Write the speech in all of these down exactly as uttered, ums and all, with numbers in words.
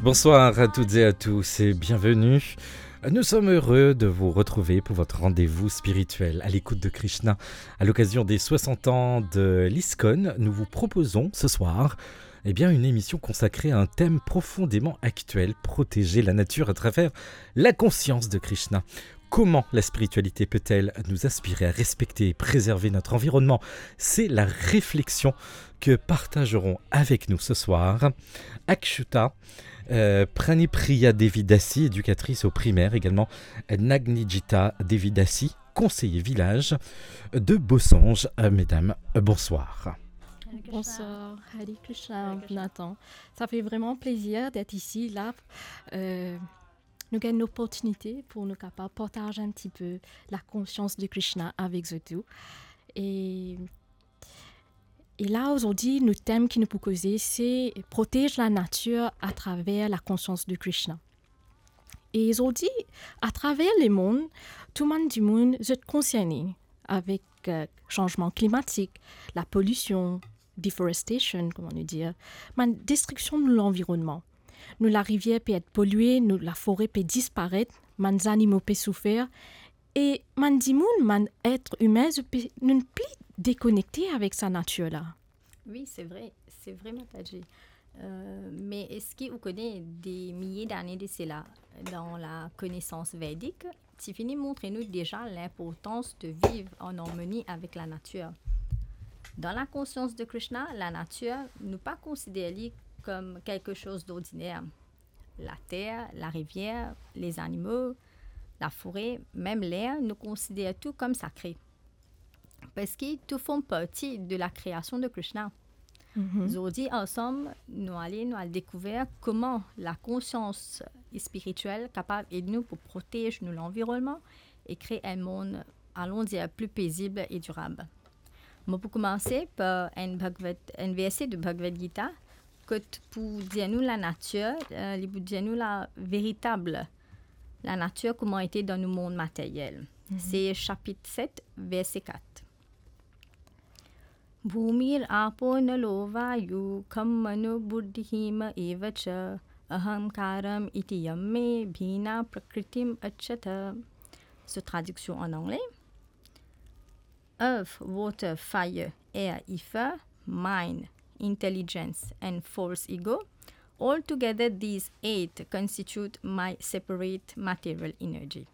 Bonsoir à toutes et à tous et bienvenue. Nous sommes heureux de vous retrouver pour votre rendez-vous spirituel à l'écoute de Krishna. À l'occasion des soixante ans de l'ISKCON, nous vous proposons ce soir, eh bien, une émission consacrée à un thème profondément actuel, protéger la nature à travers la conscience de Krishna. Comment la spiritualité peut-elle nous inspirer à respecter et préserver notre environnement ? C'est la réflexion que partageront avec nous ce soir Akshuta, euh, Pranipriya Devi Dasi, éducatrice au primaire, également Nagnijita Devi Dasi, conseiller village de Bossange. Euh, mesdames, euh, bonsoir. Bonsoir, Hare Krishna, Nathan. Ça fait vraiment plaisir d'être ici, là. Euh, nous avons une opportunité pour nous capables partager un petit peu la conscience de Krishna avec vous tous. Et, et là, aujourd'hui, notre thème qui nous propose, c'est protéger la nature à travers la conscience de Krishna. E zordi, atraver lemond, tou bann dimoun zot konserne avek, euh, sanzman klimatik, lapolision, deforestation, kouma nou dir, bann destriksion nou lanvironnman. Nou larivier pe et polie, nou lafore pe disparet, bann zanimo pe soufer, e bann dimoun, bann et imin, zot pe, nou pli dekonekte avek sa natir la. Wi, se vre, se vre, Mataji. Euh, me eski ou kone de milie dane de sela, dan la konesans vedik, ti fini montre nou deza linportans de viv an armoni avek lanatir. Dan lakonsians de Krishna, lanatir, nou pa konsider li kom kelke soz dordiner. Later, larivier, lezanimo, lafore, mem ler, nou konsider tou kom sakre. Parski tou form parti de lakreasion de Krishna. Zordi, ansam, nou ale, nou al dekouver kouma lakonsians spiritiel kapav ed nou pou protez nou lanvironnman e kree enn mond, alon dir, pli pezib e dirab. Mo pou koumanse par enn Bhagavad, enn verse de Bhagavad Gita, kot pou dir nou lanatir, euh, li pou dir nou laveritab lanatir kouma ete dan nou mond materyel. Se sapit set, verse kat. Bhumir apo nalo vayu kham mano buddhi hima eva cha, ahankara iti yam me bhina prakritim acchata. So, tradiksion an angle: Earth, water, fire, air, ether, mind, intelligence, and false ego, all together these eight constitute my separate material energy.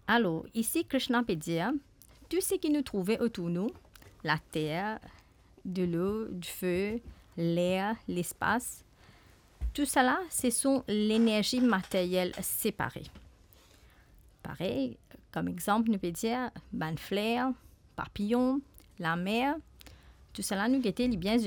Alor, isi Krishna pe dir, tou seki nou trouve otour nou, later, delo, dife, ler, lespas, tousala, se son lenerzi materyel separe. Parey, kom exanp, nou pe dir bann fler, papiyon, lamer, tousala nou gete li bien